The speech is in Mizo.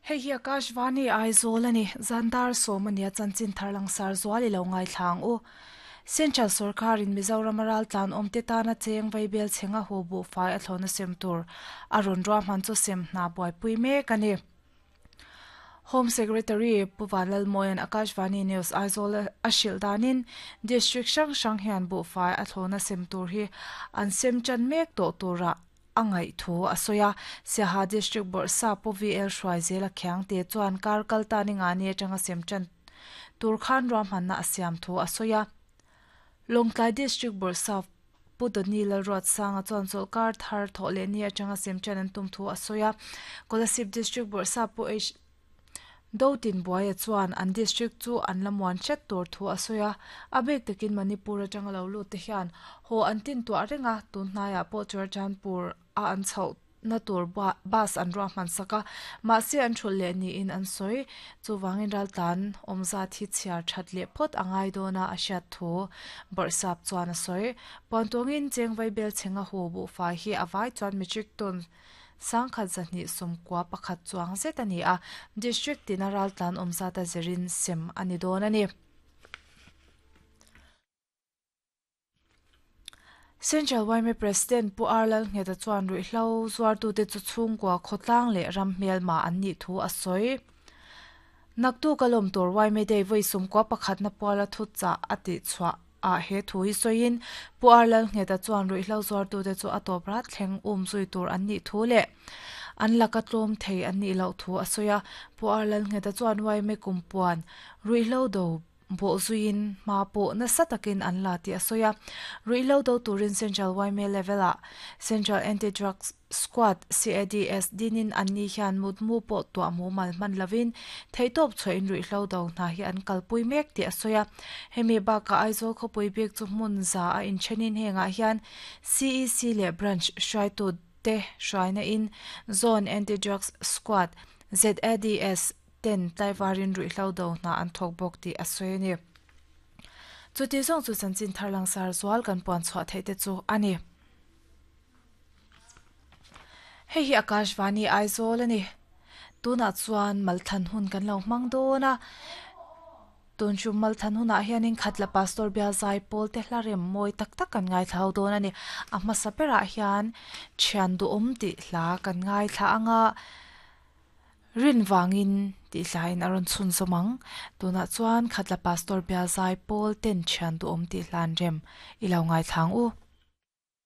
Hei hi Akashvani Aizawl a ni. Zandar sawm a nia chanchin thar langsar zual i lo ngaithla ang u. Central sawrkarin Mizoram a raltlan awmte tana cheng vaibel chhenga hu buhfai a thlawhna sem tur a rawn ruahman chu sem hna buaipui mek a ni. Home Secretary Pu Vanlalmawia'n Akashvani News Aizawl a hrilh danin District hrang hrang hian buhfai a thlawhna sem tur hi an sem tan mek tawh turah a ngaih thu a sawi a. Siaha District Bawrhsa Pu VL Hruaizela Khiangte chuan kar kal ta ni ngani atanga sem tan tur khan ruahmanna a siam thu a sawi a. Lawngtlai District Bawrhsa Pu Dawni Lalruatsanga chuan chawlhkar thar thawh leh ni atanga sem tan an tum thu a sawi a. Kolasib District Bawrhsa Pu H. Dotinbuaia chuan an district chu an la muan hret tur thu a sawi a, a bik takin Manipur atanga lo lut te hian haw an tin tuah reng a, tun hnaiah pawh Churachandpur a an chhoh na tur bus an ruahman sak a, mahse an thulh leh niin an sawi. Chuvangin raltlan awm zat hi chhiar that leh phawt a ngai dawn a, a hriat thu Bawrhsap chuan a sawi. Puantawngin Chengvai Belchhenga hu buhfai hi a vai chuan metric ton Sangkhat zahnih sawmkua pakhat chuang zet a ni a, District tina raltlan awm zata zirin sem a ni dawn a ni. Central yma President Pu R Lalngheta chuan ruihhlo zuartute chu chhungkua khawtlang leh ram hmelma an nih thu a sawi. Naktuk a lawm tur yma Day vawi sawmkua pakhatna puala thuchah a tihchhuah ah he thu hi sawiin Pu R Lalngheta chuan ruihhlo zuartute chu a tawp rat thleng um zui tur an nih thu leh an laka tlawm thei an nih loh thu a sawi a. Pu R Lalngheta chuan yma kumpuan ruihhlo do bawh zuiin hma pawh nasa takin an la tih a sawi a. Ruihhlo do turin Central yma level ah Central Anti-Drugs Squad, CADS, dinin anni hian mutmu pawh tuah mumal hman lovin theihtawp chhuahin ruihhlo do hna hi an kalpui mek tih a sawi a. Hemi bakah Aizawl khawpui bik chu hmun za a inthenin hengah hian CEC leh Branch hruaitu te hruaina in Zone Anti-Drugs Squad, ZADS, ten tlaivarin ruihhlo do hna an thawk bawk tih a sawi a ni. Chuti zawng chu chanchin thar langsar zual kan puan chhuah theih te chu a ni. Hei hi Akashvani Aizawl a ni. Tunah chuan Malthan hun kan lo hmang dawn a. Tun chu Malthan hunah hianin Khatla Pastor Bial Zai Pawl te hla rem mawi tak tak kan ngaithla ho dawn a ni. A hmasa berah hian Thian Duhawm tih hla kan ngaithla ang a, Rin vangin tih hlain a rawn chhunzawm ang. Tunah chuan Khatla Pastor Bial Zai Pawl ten Thian Duhawm tih hla an rem i lo ngaithla ang u.